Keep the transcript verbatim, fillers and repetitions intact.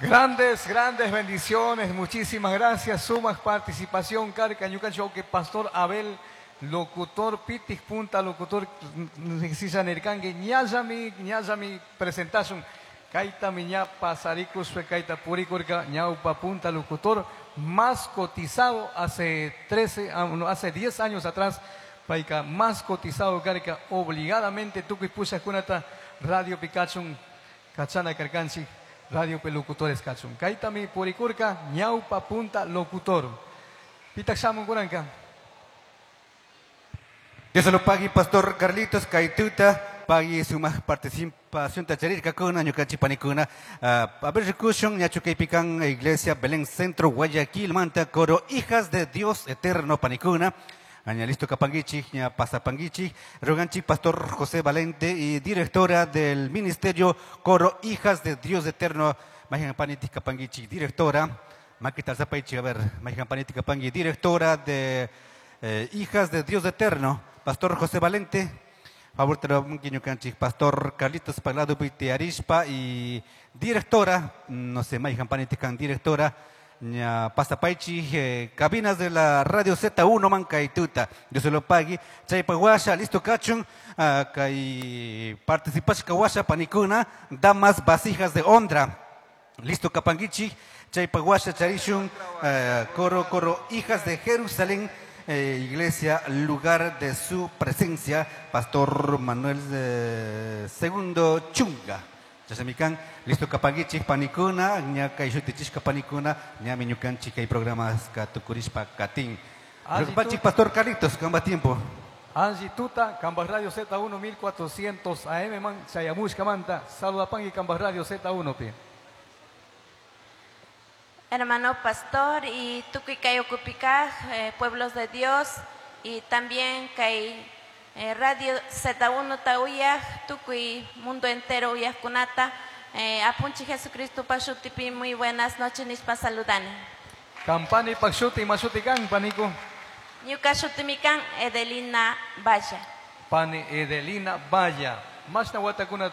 Grandes, grandes bendiciones. Muchísimas gracias. Sumak participación, karka ñukanchik Pastor Abel, locutor Pitik Punta, locutor nirkanki, ñallami, ñallami presentación. Kaita ña pasarikus kaita purikurka ñaupa punta locutor más cotizado hace trece, ah, no, hace diez años atrás, payka más cotizado karka obligadamente tukuy kunata radio pikachun kachana karkanchik radio locutores kachun. Kaitami purikurka ñaupa punta locutor. Pitak shamun kunanka. Dios lo pague, Pastor Carlitos Kaituta, pague sumak participación tacharirkakuna, ñukanchik panikuna. A ver, rikushun, ñachu kaypikan Iglesia Belén Centro Guayaquil, manta coro Hijas de Dios Eterno panikuna. Aña listo kapanguichik, ña pasapanguichik, roganchik Pastor José Valente y directora del Ministerio Coro Hijas de Dios Eterno, mayhan panita kapanguichik, directora, makita zapaichik, a ver, mayhan panita kapangui, directora de eh, Hijas de Dios Eterno, Pastor José Valente, favor te lo ñukanchik, Pastor Carlitos Paglado Arispa y directora, no sé, mayhan panita kan directora, ña pasapaichi eh, cabinas de la radio Z uno mankaituta Dios se lo pague. Chaypa washa listo kachun uh, kay participashka washa panikuna damas vasijas de honra listo kapanguichi. Chaypa washa charishun uh, coro coro Hijas de Jerusalén, eh, iglesia lugar de su presencia, Pastor Manuel eh, Segundo Chunga. Chasamikan, listo kapanguichik panikuna, ña kay shutichishka panikuna, ñami ñukanchik kay programas tukurishpa katin. Panchik Pastor Carlitos, kamba tiempo. Angie Tuta, Cambas Radio Z uno mil cuatrocientos A M man, chayamushka manta, saludapangi Cambas Radio Z uno pi. Hermano pastor y tukuy kay ukupikaj, eh, pueblos de Dios y también kay eh, Radio Z uno ta uyaj, tukuy mundo entero uyajkunata, eh, apunchij Jesucristo pa shutipi muy buenas noches nishpa saludani. Kampani pak shuti, ima shuti kan, paniku? Ñuka shutimi kan Edelina Valla. Pani Edelina Valla. Mashna watakuna